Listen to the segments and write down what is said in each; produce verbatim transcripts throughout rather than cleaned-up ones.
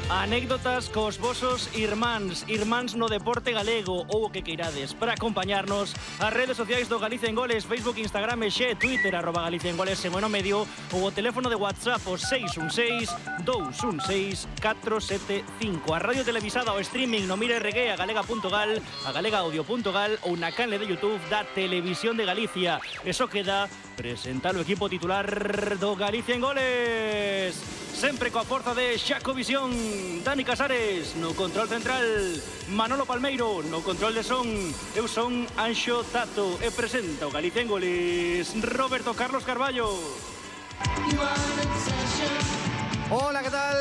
Anécdotas cos vosos irmáns, irmáns no deporte galego ou o que queirades. Para acompañarnos, as redes sociais do Galicia en Goles, Facebook, Instagram e xe, Twitter, arroba Galicia en Goles en o medio, ou o teléfono de WhatsApp o seis un seis, dous un seis, catro sete cinco. A radio televisada o streaming no Mira R G, a galega punto gal, a galega audio punto gal ou na canle de YouTube da Televisión de Galicia. Eso queda presentar o equipo titular do Galicia en Goles. Sempre coa forza de Xacovisión, Dani Casares no control central, Manolo Palmeiro no control de son. Eu son Anxo Tato e presenta o Galicia en Goles Roberto Carlos Carballo. Hola, ¿qué tal?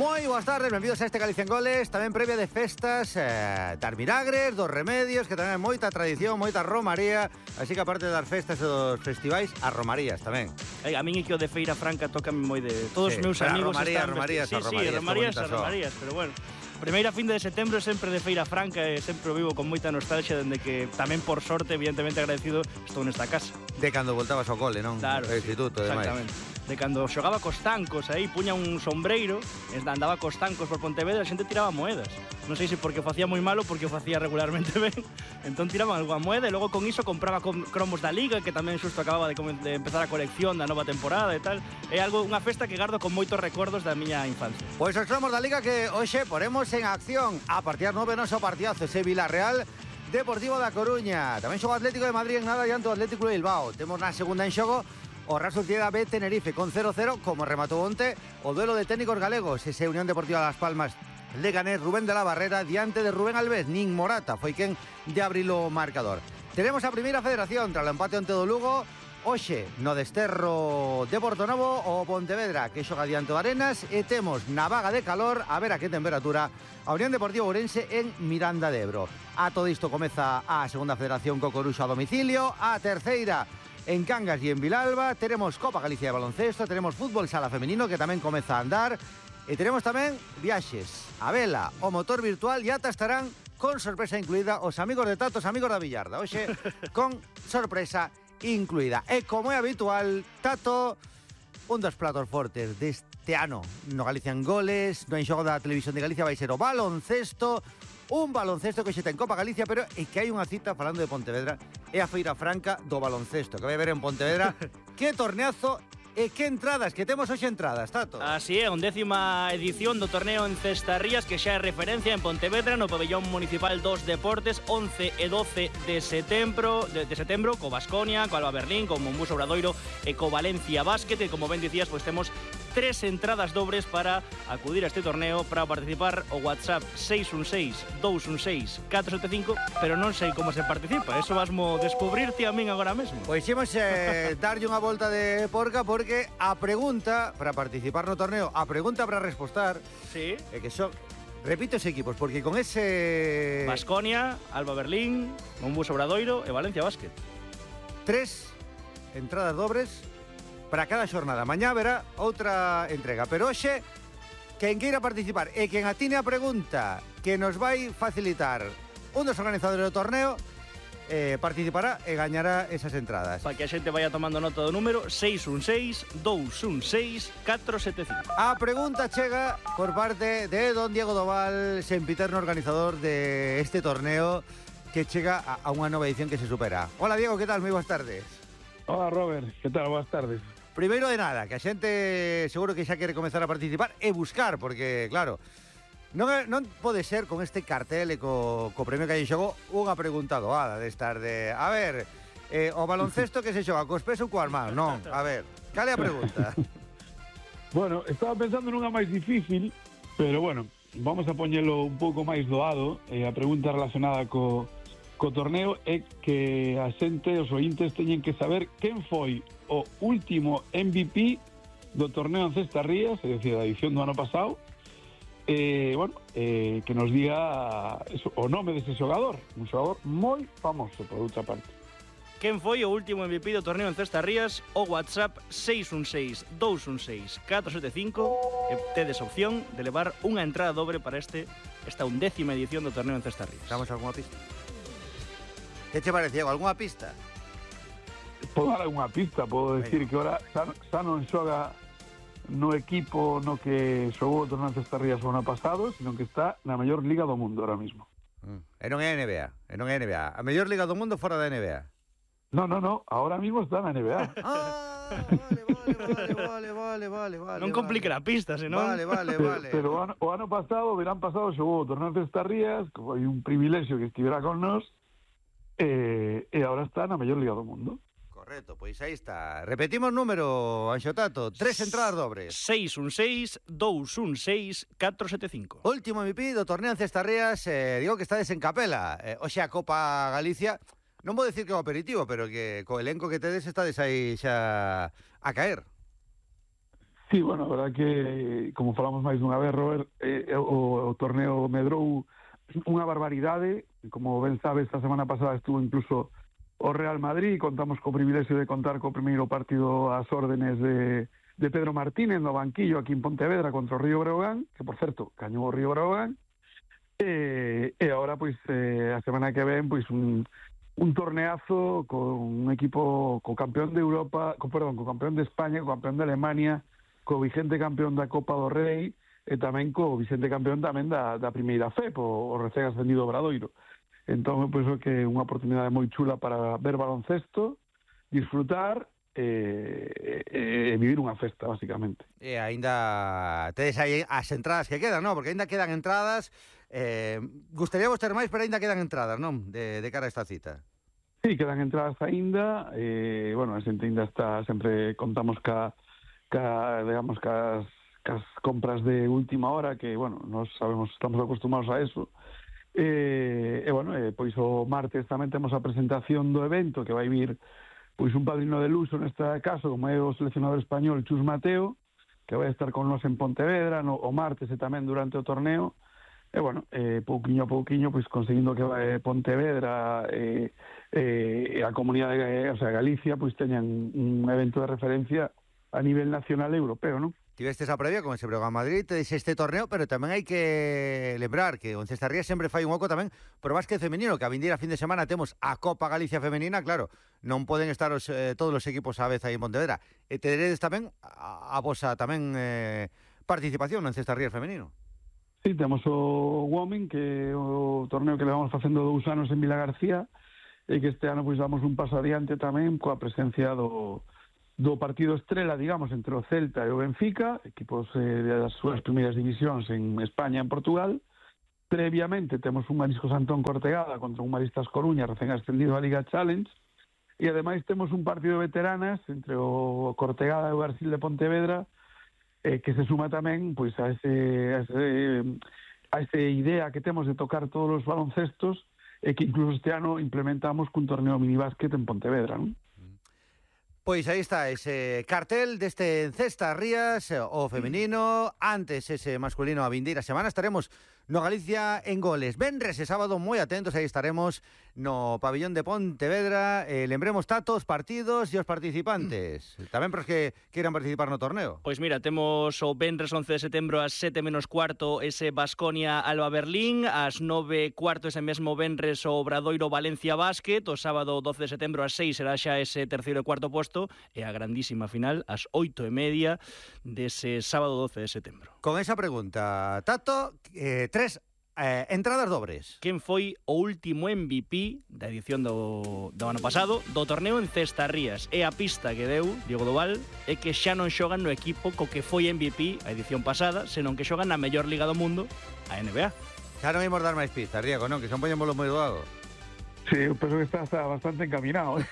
Moi boas tardes, benvidos a este Galicia en Goles. Tamén previa de festas, eh, dar milagres, dos remedios, que tamén é moita tradición, moita romaría. Así que aparte de dar festas e dos festivais, as romarías tamén. Ai, a min é que o de Feira Franca toca moi de... Todos os Sí, meus pero a amigos romaría, están... romarías, sí, a sí, romarías, romarías, qué a bonitas son. romarías, pero bueno. Primeira fin de setembro sempre de Feira Franca e sempre o vivo con moita nostalgia, dende que tamén por sorte, evidentemente agradecido, estou nesta casa. De cando voltabas ao cole, non? Claro, O instituto, sí, e demais. exactamente. De cando xogaba cos tancos aí, puña un sombreiro, andaba cos tancos por Pontevedra, a xente tiraba moedas. Non sei se porque o facía moi malo ou porque o facía regularmente ben. Entón tiraban algunha moeda e logo con iso compraba con cromos da Liga, que tamén xusto acababa de, de empezar a colección da nova temporada e tal. É algo, unha festa que gardo con moitos recordos da miña infancia. Pois os cromos da Liga que hoxe poremos en acción. A partir das nove noso partidazo ese Vilarreal Deportivo da Coruña. Tamén xogo Atlético de Madrid en nada diante do Atlético de Bilbao. Temos na segunda en xogo o Real Sociedad B Tenerife con cero cero, como rematou onte o duelo de técnicos galegos, ese Unión Deportiva Las Palmas Leganés, Rubén de la Barrera diante de Rubén Alves. Nin Morata foi quen de abrir o marcador. Teremos a primeira federación tras o empate onte do Lugo. Hoxe no desterro de Portonovo o Pontevedra, que xoga diante do Arenas, e temos na vaga de calor, a ver a que temperatura, a Unión Deportiva Ourense en Miranda de Ebro. A todo isto comeza a segunda federación co Coruxo a domicilio, a terceira en Cangas e en Vilalba. Teremos Copa Galicia de baloncesto, tenemos fútbol sala femenino que tamén comeza a andar, e teremos tamén viaxes, a vela, o motor virtual, e ata estarán con sorpresa incluída os amigos de Tato, os amigos da Villarda. Hoxe con sorpresa incluída. E como é habitual, Tato, un dos platos fortes deste ano no Galicia en Goles, no enxogo da Televisión de Galicia, vai ser o baloncesto. Un baloncesto que xe ten Copa Galicia, pero é que hai unha cita falando de Pontevedra, é a Feira Franca do baloncesto, que vai haber en Pontevedra. Que torneazo e que entradas, que temos hoxe entradas, Tato. Así é, undécima edición do torneo en Cestarrías, que xa é referencia en Pontevedra, no pabellón municipal dos deportes, once e doce de setembro, de, de setembro, co Baskonia, co Alba Berlín, co Monbus Obradoiro e co Valencia Basket, e como ben dicías, pois temos tres entradas dobres para acudir a este torneo. Para participar, o WhatsApp seis un seis, dous un seis, catro sete cinco, pero non sei como se participa, eso vasmo descubrirte a min agora mesmo. Pois imos eh, darlle unha volta de porca, porque a pregunta para participar no torneo, a pregunta para respostar, sí, é que son, repito os equipos, porque con ese Baskonia, Alba Berlín, Monbus Obradoiro e Valencia Basket. Tres entradas dobres para cada xornada. Mañá verá outra entrega, pero hoxe quen queira participar e quen atine a pregunta que nos vai facilitar un dos organizadores do torneo, eh, participará e gañará esas entradas. Para que a xente vaya tomando nota do número seis un seis, dous un seis, catro sete cinco. A pregunta chega por parte de don Diego Doval, sempiterno organizador de este torneo, que chega a, a unha nova edición que se supera. Hola Diego, que tal? Moi boas tardes. Hola Robert, que tal? Boas tardes. Primeiro de nada, que a xente seguro que xa quere comezar a participar e buscar, porque, claro, non, é, non pode ser con este cartel e co, co premio que hai en xogo unha pregunta doada destas de, a ver, eh, o baloncesto que se xoga cos pés ou coas mans, non, a ver, cal é a pregunta? Bueno, estaba pensando nunha máis difícil, pero bueno, vamos a poñelo un pouco máis doado. eh, a pregunta relacionada co, co torneo é que a xente, os ointes, teñen que saber quen foi o último M V P do torneo en Cestarrías, é dicir, da edición do ano pasado. Eh, bueno, eh, que nos diga eso, o nome dese xogador, un xogador moi famoso, por outra parte. Quen foi o último M V P do torneo en Cestarrías? O WhatsApp seis un seis, dous un seis, catro sete cinco, e tedes opción de levar unha entrada dobre para este esta undécima edición do torneo en Cestarrías. Damos algunha pista? Que che parece, Diego? Algunha pista? Podo dar algunha pista, podo decir que ora xa, xa non xoga no equipo no que xogou o torneo de Cestarrías o ano pasado, sino que está na mellor liga do mundo ahora mismo. Mm. E non é N B A, e non é N B A. A mellor liga do mundo fora da N B A. No, no, no, ahora mismo está na N B A. Ah, vale, vale, vale, vale, vale, vale. Non complique a pista, senón. Vale, vale, Pero, vale. pero o, ano, o ano pasado, o verán pasado, xogou o torneo de Cestarrías, que foi un privilexio que estivera con nós, e, e agora está na mellor liga do mundo. Correcto, pois aí está. Repetimos número, Anxo Tato. Tres entradas dobres. seis un seis, dous un seis, catro sete cinco. Último M V P do torneo en Cestarrías. eh, Digo que estades en Capela. eh, Oxe a Copa Galicia. Non vou decir que é o aperitivo, pero que co elenco que tedes estades aí xa a caer. Sí, bueno, a verdad que, como falamos máis dunha vez, Robert, eh, o, o torneo medrou unha barbaridade. Como ben sabes, esta semana pasada estuvo incluso o Real Madrid, contamos co privilexio de contar co primeiro partido ás órdenes de, de Pedro Martínez no banquillo aquí en Pontevedra contra o Río Breogán, que, por certo, cañou o Río Breogán, e, e agora, pois, eh, a semana que ven, pois, un, un torneazo con un equipo co campeón de Europa, co, perdón, co campeón de España, co campeón de Alemania, co vigente campeón da Copa do Rei, e tamén co vicente campeón tamén da, da primeira F E P, o, o recén ascendido Obradoiro. Entón, pois, é que é unha oportunidade moi chula para ver baloncesto, disfrutar e, e, e vivir unha festa, basicamente. E aínda tedes aí as entradas que quedan, non? Porque aínda quedan entradas. eh, Gustaríamos ter máis, pero aínda quedan entradas, non? De, de cara a esta cita. Sí, quedan entradas aínda. E, bueno, a xente aínda está, sempre contamos ca, ca digamos, cas, cas compras de última hora, que, bueno, nos sabemos, estamos acostumados a eso. E, e bueno, e, pois o martes tamén temos a presentación do evento, que vai vir pois un padrino de luxo neste caso, como é o seleccionador español Chus Mateo, que vai estar con nos en Pontevedra no, o martes e tamén durante o torneo. E bueno, eh, pouquiño a pouquiño pois conseguindo que vai Pontevedra e, e, e a comunidade, o sea, Galicia, pois teñan un evento de referencia a nivel nacional e europeo, non? Tivestes a previa con ese Breogán Madrid, tedes este torneo, pero tamén hai que lembrar que o Cestarrías sempre fai un oco tamén pro básquet femenino, que a vindeira fin de semana temos a Copa Galicia Femenina, claro, non poden estar os, eh, todos os equipos á vez aí en Pontevedra. E teredes tamén a, a vosa tamén eh, participación no Cestarrías femenino. Sí, temos o Women, que é o torneo que levamos facendo dous anos en Vila García, e que este ano pois damos un paso adiante tamén coa presencia do do partido estrela, digamos, entre o Celta e o Benfica, equipos eh, das súas primeiras divisións en España e en Portugal. Previamente temos un Mariscos Antón Cortegada contra un Maristas Coruña, recén ascendido á Liga Challenge, e ademais temos un partido de veteranas entre o Cortegada e o Garcil de Pontevedra, eh, que se suma tamén pois a ese, a ese a esa idea que temos de tocar todos os baloncestos, e que incluso este ano implementamos cun torneo minibásquet en Pontevedra, non? Pois aí está ese cartel deste Cestarrías, o femenino, antes ese masculino a vindeira semana. Estaremos no Galicia en Goles. Venres e sábado moi atentos, aí estaremos no pabillón de Pontevedra. Eh, lembremos tatos, partidos e os participantes. Tamén para os que queiran participar no torneo. Pois mira, temos o venres once de setembro ás sete menos cuarto ese Baskonia Alba Berlín, ás nove cuarto ese mesmo venres o Obradoiro Valencia Basket, o sábado doce de setembro ás seis será xa ese terceiro e cuarto posto, e a grandísima final ás oito e media dese sábado doce de setembro. Con esa pregunta, Tato, eh, tres eh, entradas dobres. Quen foi o último M V P da edición do, do ano pasado do torneo en Cestarrías? E a pista que deu Diego Doval é que xa non xogan no equipo co que foi M V P a edición pasada, senón que xogan na mellor liga do mundo, a N B A. Xa non imos dar máis pistas, Diego, non? Que son poñémolo moi doado. Sí, eu penso que está, está bastante encaminado, ¿eh?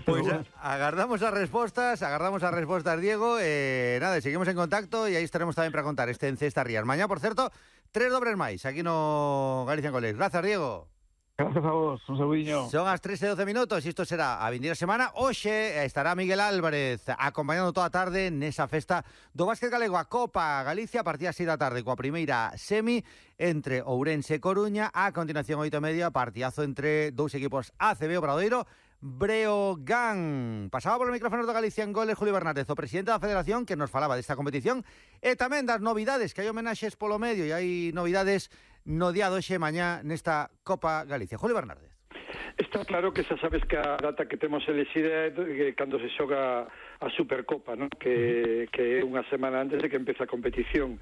Pois pues agardamos as respostas, agardamos as respostas, Diego. Eh, nada, seguimos en contacto e aí estaremos tamén para contar este en Cestarrías. Mañá, por certo, tres dobres máis aquí no Galicia en Goles. Grazas, Diego. Grazas a vos, un saludiño. Son as tres e doce minutos e isto será a vindeira semana. Hoxe estará Miguel Álvarez acompañando toda a tarde nesa festa do básquet galego, a Copa Galicia, a partir das seis da tarde, coa primeira semi entre Ourense e Coruña. A continuación, oito e media, partidazo entre dous equipos A C B, Obradoiro, Breogán. Pasaba polo micrófono do Galicia en Goles Julio Bernárdez, o presidente da Federación, que nos falaba desta competición e tamén das novidades, que hai homenaxes polo medio e hai novidades no día doxe mañá nesta Copa Galicia. Julio Bernárdez. Está claro que xa sabes que a data que temos elexida é que cando se xoga a Supercopa, ¿no? que, que é unha semana antes de que empece a competición.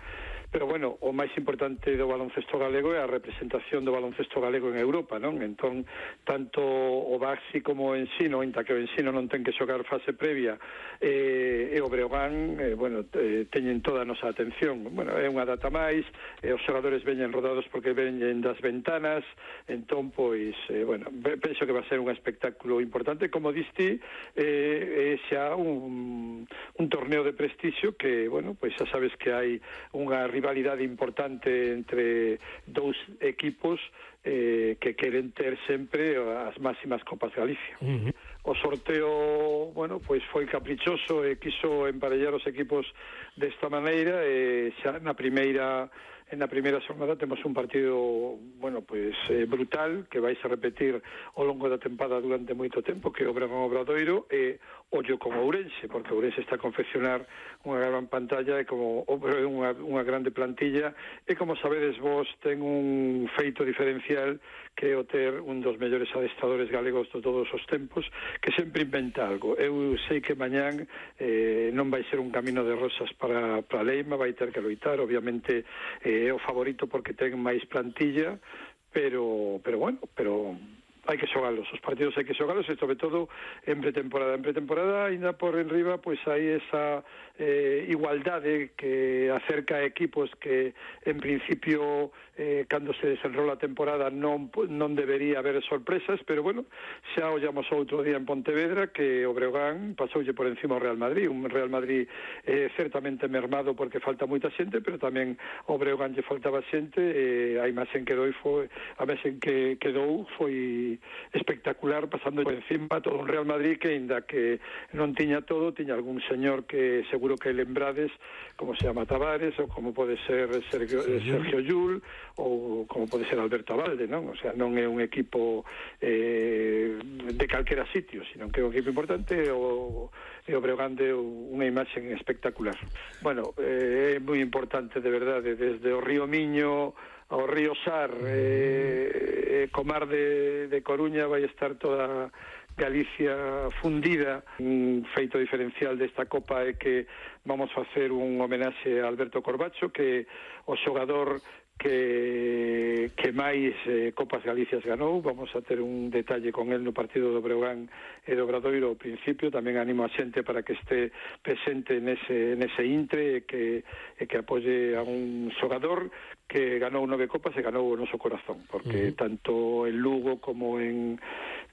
Pero, bueno, o máis importante do baloncesto galego é a representación do baloncesto galego en Europa, non? Entón, tanto o Baxi como o Ensino, inta que o Ensino non ten que xogar fase previa, eh, e o Breogán, eh, bueno, eh, teñen toda a nosa atención. Bueno, é unha data máis, eh, os xogadores veñen rodados porque veñen das ventanas, entón, pois, eh, bueno, penso que va a ser un espectáculo importante. Como diste, eh, é xa un, un torneo de prestixio que, bueno, pois xa sabes que hai unha rivalidade importante entre dous equipos eh, que queren ter sempre as máximas Copas Galicia. Uh-huh. O sorteo, bueno, pois foi caprichoso e quiso emparellar os equipos desta maneira e xa na primeira en na primeira xornada temos un partido, bueno, pois eh, brutal, que vais a repetir ao longo da tempada durante moito tempo, que é o Breogán Obradoiro e ollo con Ourense, porque Ourense está a confeccionar unha gran pantalla e como unha, unha grande plantilla e como sabedes vos ten un feito diferencial que é o ter un dos mellores adestradores galegos de todos os tempos que sempre inventa algo. Eu sei que mañán eh, non vai ser un camino de rosas para, para Leima, vai ter que loitar, obviamente eh, é o favorito porque ten máis plantilla, pero, pero bueno, pero hai que xogalos, os partidos hai que xogalos e sobre todo en pretemporada. En pretemporada, ainda por enriba, pois hai esa eh, igualdade que acerca a equipos que en principio eh, cando se desenrola a temporada non, non debería haber sorpresas, pero bueno, xa ollamos outro día en Pontevedra que o Breogán pasoulle por encima ao Real Madrid, un Real Madrid eh, certamente mermado porque falta moita xente, pero tamén o Breogán lle faltaba xente e a imaxen que dou foi, a imaxen que quedou foi espectacular, pasando por encima todo un Real Madrid que, ainda que non tiña todo, tiña algún señor que seguro que lembrades, como se llama Tavares, ou como pode ser Sergio, Sergio Llull, ou como pode ser Alberto Abalde, non? O sea, non é un equipo eh, de calquera sitio, sino que é un equipo importante, o, e o Breogán deu unha imaxen espectacular. Bueno, eh, é moi importante, de verdade, desde o Río Miño ao Río Sar, eh, Comar de, de Coruña, vai estar toda Galicia fundida. Un feito diferencial desta Copa é que vamos facer un homenaxe a Alberto Corbacho, que o xogador que, que máis eh, Copas Galicias ganou. Vamos a ter un detalle con el no partido do Breogán e do Obradoiro ao principio. Tamén animo a xente para que este presente nese, nese intre e que, e que apoye a un xogador que ganou nove copas e ganou o noso corazón, porque uh-huh. tanto en Lugo como en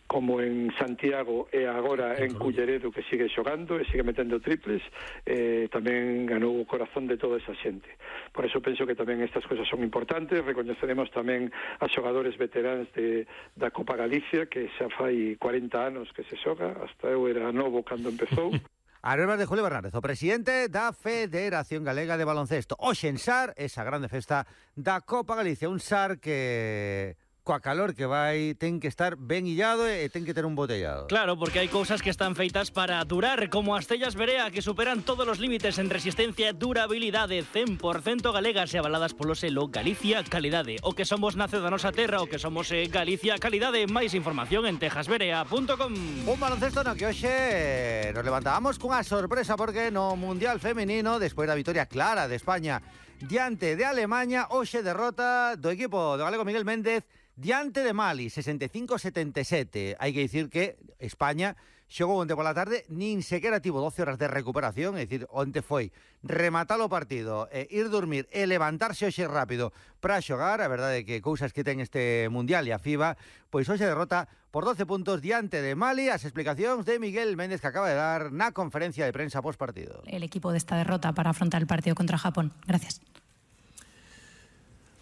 como en Santiago e agora en Culleredo, que sigue xogando e sigue metendo triples, eh, tamén ganou o corazón de toda esa xente. Por eso penso que tamén estas cousas son importantes. Recoñeceremos tamén a xogadores veteranos de, da Copa Galicia, que xa fai cuarenta anos que se xoga, hasta eu era novo cando empezou. As verbas de Julio Bernárdez, o presidente da Federación Galega de Baloncesto. Hoxe en Sar, esa grande festa da Copa Galicia. Un Sar que, coa calor que vai, ten que estar ben illado e ten que ter un botellado. Claro, porque hai cousas que están feitas para durar, como as tellas Berea, que superan todos os límites en resistencia e durabilidade, cen por cento galegas e avaladas polo selo Galicia Calidade. O que somos nace da nosa terra, o que somos é Galicia Calidade. Máis información en texas berea punto com. Un baloncesto no que hoxe nos levantábamos cunha sorpresa, porque no Mundial Femenino, despois da vitoria clara de España diante de Alemaña, hoxe derrota do equipo do galego Miguel Méndez diante de Mali, sesenta e cinco a setenta e sete. Hai que dicir que España xogou onte pola tarde, nin sequera tivo doce horas de recuperación, é dicir, onte foi rematar o partido, e ir dormir e levantarse hoxe rápido para xogar. A verdade é que cousas que ten este Mundial e a FIBA, pois hoxe derrota por doce puntos diante de Mali. As explicacións de Miguel Méndez, que acaba de dar na conferencia de prensa post partido. El equipo de esta derrota para afrontar el partido contra Japón. Gracias.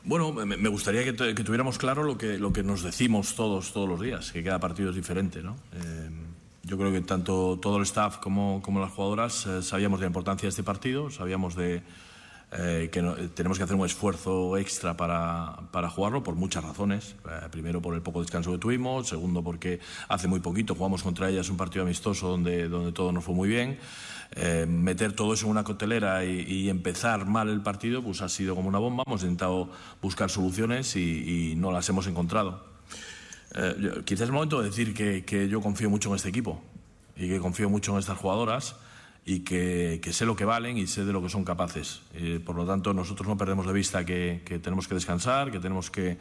Bueno, me gustaría que, que tuviéramos claro lo que, lo que nos decimos todos, todos los días, que cada partido es diferente, ¿no? Eh, yo creo que tanto todo el staff como, como las jugadoras eh, sabíamos de la importancia de este partido, sabíamos de eh, que no, tenemos que hacer un esfuerzo extra para, para jugarlo por muchas razones. Eh, primero, por el poco descanso que tuvimos. Segundo, porque hace muy poquito jugamos contra ellas un partido amistoso donde, donde todo nos fue muy bien. Eh, meter todo eso en una coctelera y, y empezar mal el partido, pues ha sido como una bomba. Hemos intentado buscar soluciones y, y no las hemos encontrado. Eh, yo, quizás es el momento de decir que, que yo confío mucho en este equipo y que confío mucho en estas jugadoras y que, que sé lo que valen y sé de lo que son capaces. Eh, por lo tanto, nosotros no perdemos de vista que, que tenemos que descansar, que tenemos que,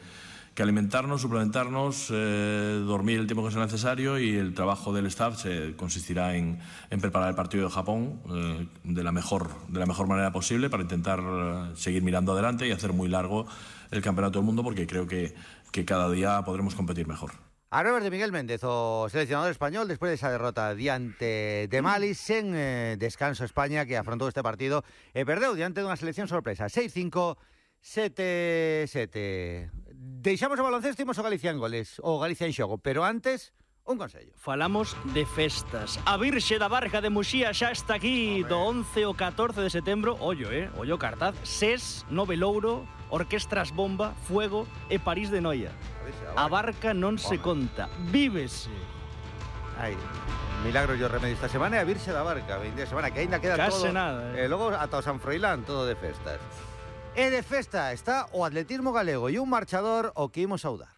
que alimentarnos, suplementarnos, eh, dormir el tiempo que sea necesario, y el trabajo del staff se consistirá en, en preparar el partido de Japón eh, de, la mejor, de la mejor manera posible para intentar eh, seguir mirando adelante y hacer muy largo el Campeonato del Mundo, porque creo que, que cada día podremos competir mejor. Hablamos de Miguel Méndez, o seleccionador español, después de esa derrota diante de Mali, sen eh, descanso España, que afrontó este partido e perdeu diante dunha selección sorpresa, seis cinco, sete sete. Deixamos o baloncesto e imos o Galicia en goles, o Galicia en xogo, pero antes, un consello. Falamos de festas. A Virxe da Barca de Muxía xa está aquí do once ao catorce de setembro. Ollo, eh? Ollo cartaz. SES, Nove Louro, Orquestras Bomba, Fuego e París de Noia. A Barca non se conta. Vívese. Ai, milagro yo remedio esta semana e a Virxe da Barca, veinte semana, que ainda queda Case todo. nada, eh. E logo ata o San Froilán, todo de festas. E de festa está o atletismo galego e un marchador o que imos saudar.